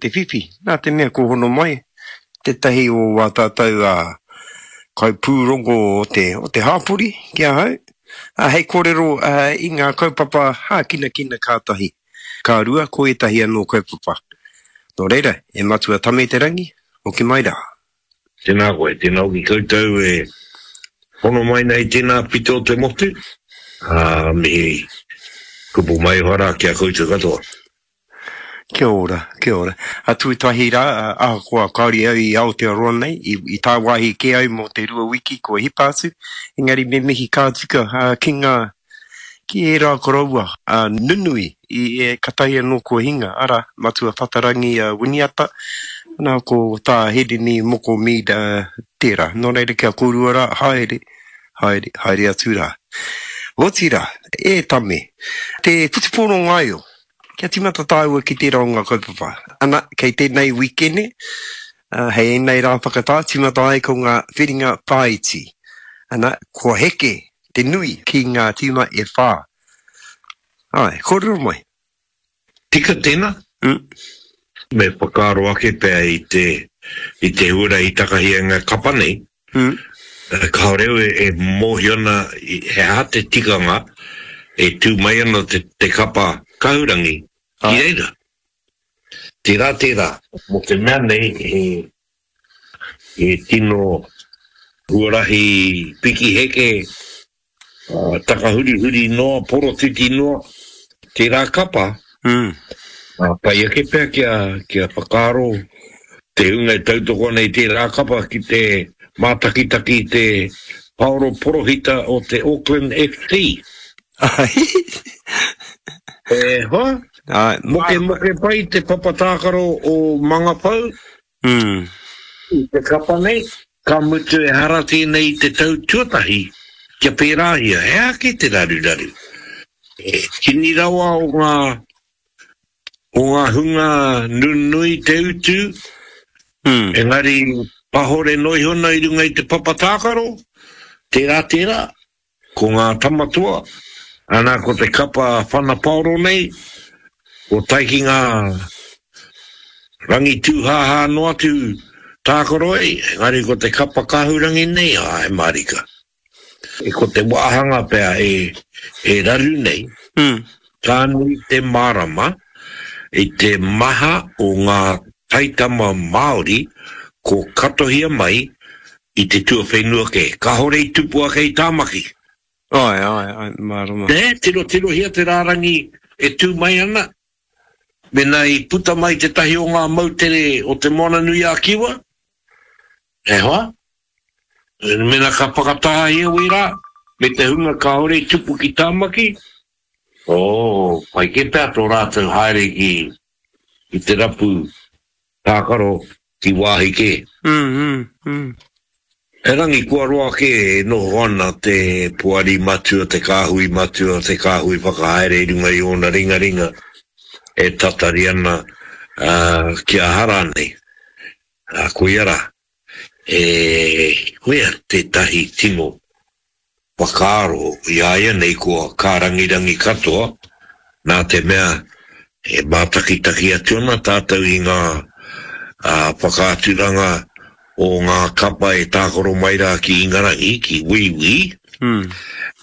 te whiwhi, nā te mea kua hono mai tētahi o wā tātou kaipūrongo o te, o te hāpori ki ahau, hei kōrero i ngā kaupapa hākinakina ka tahi, ka rua ko ētahi anō kaupapa. Nō reira, e Matua Tame Te Rangi, hoki mai rā. Tēnā koe, tēnā hoki koutou e hono mai nei tēnā pito o te motu, ā, mihi kupu maioha rā ki a koutou katoa. Kia ora, kia ora. A tuatahi rā, ahakoa kāore au i Aotearoa nei, i, i tāwāhi kē au mō te rua wiki kua hipa atu, engari me mihi ka tika ki ngā, ki ērā koroua nunui i katahi anō kua hinga, arā, Matua Whatarangi Winiata, nā, ko Tā Hirini Moko Mead tērā. Nō reira kia kōrua rā, haere, haere, haere atu rā. Otirā, e Tame, te whutupōro ngaio, kia tīmata tāua ki tērā o ngā kaupapa. Ana, kei tēnei wīkene, hei ēnei rā whakatā, tīmata ai ko ngā whiringa whāiti. Ana, kua heke te nui ki ngā tīma e whā. Āe, kōrero mai. Tika tēnā. Mm. Me whakaaro ake pea i te, i te huarahi takahi a ngā kapa nei. Mm. Kāore au e mōhio ana he aha te tikanga e tū mai ana te, te kapa kahurangi ki reira. Tērā, tērā. Mō te mea nei he, He tino huarahi piki heke, takahurihuri noa, porotiti noa tērā kapa. Pai ake pea kia whakaaro te hunga e tautoko ana i tērā kapa ki te mātakitaki i te paoro porohita o te Auckland FC. E hoa, mokemoke pai te papa tākaro o Mangawhau. I te kapa nei, ka mutu ehara tēnei i te tau tuatahi kia pērāhia, he aha kē te raruraru? He tini rawa o ngā, o ngā hunga nunui te utu, engari pahore noa iho ana i runga i te papa tākaro, tērā, tērā. Ko ngā tama toa, ana ko te kapa whana paoro nei, ko tae ki ngā rangi tūhāhā noa atu tākaro ai, engari ko te kapa kahurangi nei, āe mārika. Ko te wāhanga pea e, e raru nei, ka nui te mārama i te maha o ngā taitama Māori ko katohia mai I te tuawhenua kē. Kāore i tupu ake i Tāmaki. Āe, āe, āe, mārama. Nē, tirotirohia te rārangi e tū mai ana, mēnā i puta mai tētahi o ngā moutere o Te Moananui-a-Kiwa, e hoa, mēnā ka whakatahahia wērā, me te hunga kāore i tupu ki Tāmaki, oh, pai kē pea tō rātou haere ki, ki te rapu Tākaro ki wāhi kē. Erangi kua roa kē e noho ana te Poari Matua, te Kāhui Matua, te Kāhui Whakahaere i runga i ōna ringaringa e tatari ana kia aha rānei. Koia rā, e koia tētahi tino whakaaro i a ia nei kua kārangirangi katoa, nā te mea e mātakitaki atu ana tātou i ngā whakaaturanga o ngā kapa e tākaro mai rā ki Ingarangi, ki Wīwī,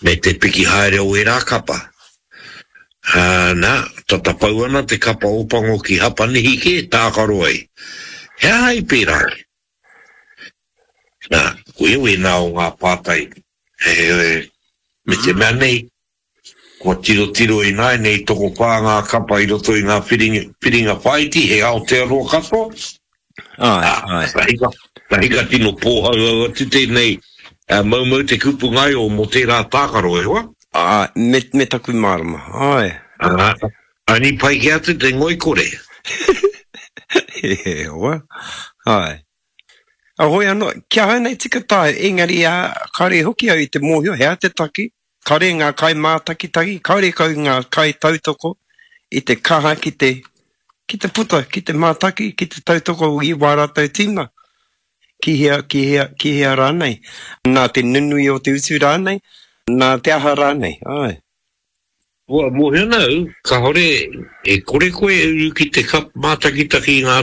me te piki haere o ērā kapa. Nā, tata pau ana te kapa Ōpango ki Hapanihi kē tākaro ai. He aha i pērā ai? Nā, koia wēnā o ngā pātai, me te mea nei, kua tirotiro ināianei tokowhā ngā kapa i roto i ngā whiringa whāiti, he Aotearoa katoa. Āe, āe. Ka hika, ka hika tino pōhauhau atu tēnei moumou te kupu ngaio mō tērā tākaro, e hoa. Āe, me, me taku mārama, āe. Ā, ani pai kē atu te ngoikore. E hoa, āe. A hoi anō, ki ahau nei tika tae, engari ā, kāore hoki au i te mōhio he aha te take, kāore ngā kaimātakitaki, kāore kau ngā kaitautoko i te kaha ki te, ki te puta, ki te mātaki, ki te tautoko i wā rātou tīma, ki hea, ki hea, ki hea rānei, nā te nunui o te utu rānei, nā te aha rānei, āe. Kua mōhio ana au, kāore e kore koe e uru ki te kap mātakitaki i ngā.